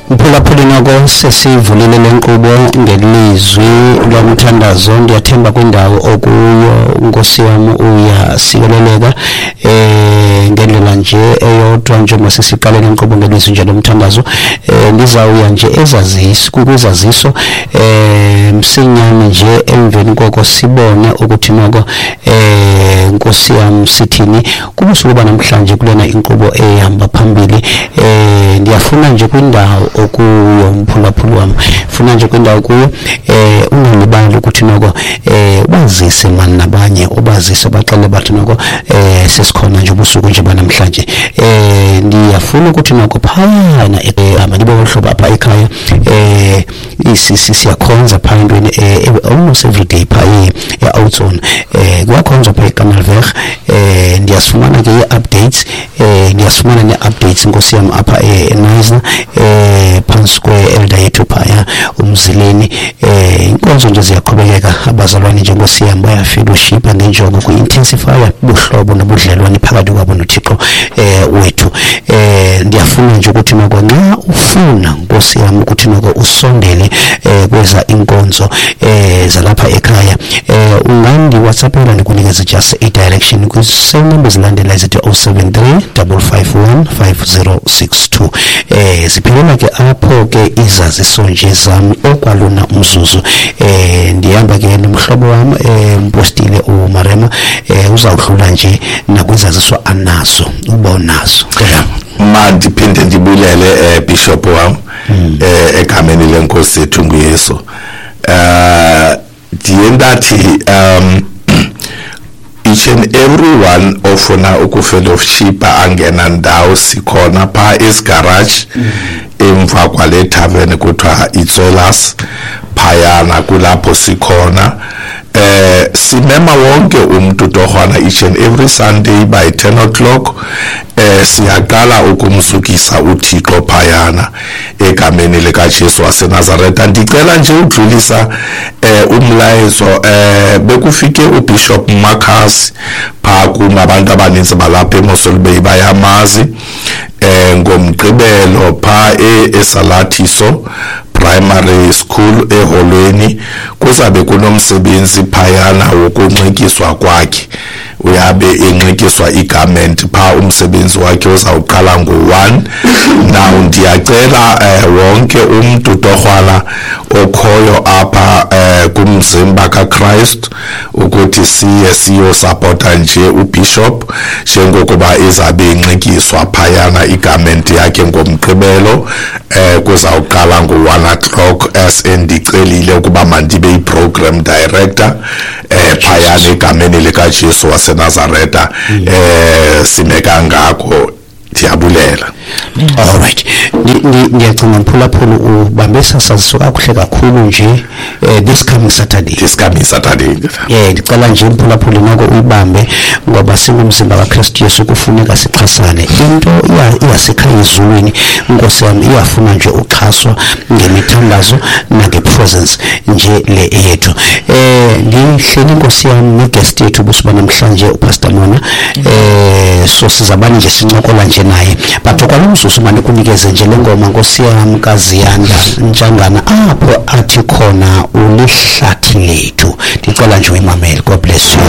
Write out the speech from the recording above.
Mphulaphuli, noko sesivulile le nkqubo ngelizwi lomthandazo. Ndiyathemba kwindawo okuyo, nkosi yam, uyasikeleleka ngendlela nje eyodwa. Njengoba sesiqale le nkqubo ngelizwi nje lomthandazo, ndizawuya nje ezaziso, kwizaziso msinyane nje. Emveni koko sibone ukuthi noko nkosi yam sithini kubusuku banamhlanje kulena inkqubo ehamba phambili. Ndiyafuna nje kwindawo okuyo, mphulaphuli wam, funa nje kwindawo kuyo ungalibali ukuthi noko ubazise mani nabanye, ubazise, baxele bathi noko sesikhona nje ubusuku nje banamhlanje. Ndiyafuna ukuthi noko phayana mandibe hlobo apha ekhaya siyakhonza phaa entweni almost every day phaa e-Outzone, kuyakhonzwa phaa eKanalweg. Ndiyasifumana ke ii-updates, ndiyasifumana nee-updates, nkosi yam, apha eNysna phantsi kwe-elder yethu phaya uMzileni. Inkonzo nje ziyaqhubekeka, abazalwane nje, nkosi yam, bayafellowshipa ngenjongo ku-intensifya ubuhlobo nobudlelwane phakathi kwabo noThixo wethu. Ndiyafuna nje ukuthi noko nxa ufuna, nkosi yam, ukuthi noko usondele kweza inkonzo zalapha ekhaya, ungandi-WhatsAppela ndikunikeze just i-direction kwi-same number ezilandelayo zithi 073 551 5062. Ziphelela ke apho ke izaziso nje zam okwalona umzuzu. Ndihamba ke nomhlobo wam mpostile uMarema, uzawudlula nje nakwizaziso anazo uba unazo. Mandiphinde ndibulele bishop wam egameni lenkosi yethu nguYesu. Ndiye ndathi each and everyone ofuna ukufellowshipa angena ndawo, sikhona phaa esigarage emva kwale tavern kuthiwa iTsolas, phayana kulapho sikhona. Simema wonke umuntu torhwana each and every Sunday by 10 o'clock. Siyaqala ukumzukisa uThixo phayana egameni likaJesu waseNazaretha. Ndicela nje udlulisa umlayezo. Bekufike uBishop Marcus phaa kum, abantu abaninzi balapha eMossel Bay bayamazi, ngomgqibelo phaa eSalathiso Primary School eholweni kuzabe kunomsebenzi phayana wokunxityiswa kwakhe, uyabe enxityiswa igarment phaa. Umsebenzi wakhe uzawuqala ngo-1. Now ndiyacela wonke umntu torhwana okhoyo apha kumzimba kaChrist ukuthi siye siyosapota nje ubishop njengokuba izabe inxityiswa phayana igarment yakhe ngomgqibelo. Kuzawuqala ngo-1 o'clock, as endicelile ukuba mandibe i-program director phayana egameni likaJesu waseNazaretha. Sime kangako, ndiyabulela. Alright, ndiyacinga mphulaphula ubambe sasaziso kakuhle kakhulu nje, this coming Saturday. This coming Saturday. Ndicela nje mphulaphula noko uyibambe, ngoba singumzimba kaKristu Yesu kufuneka sixhasane. Into iyasekhaya ezulwini, nkosi yami, iyafuna nje uxhaswa ngemithandazo nangepresence nje le yethu. Ndihleli, nkosi yami, neguest yethu busuba namhlanje, uPastor Mona. So sizabani nje sincokola nje naye, but okwalo mzuzu mane kunikeze nje le ngoma, nkosi yami, kaZiyanda Ntshangana, apho athi khona ulihlathi lethu. Ndicela nje uyimamele. God bless you.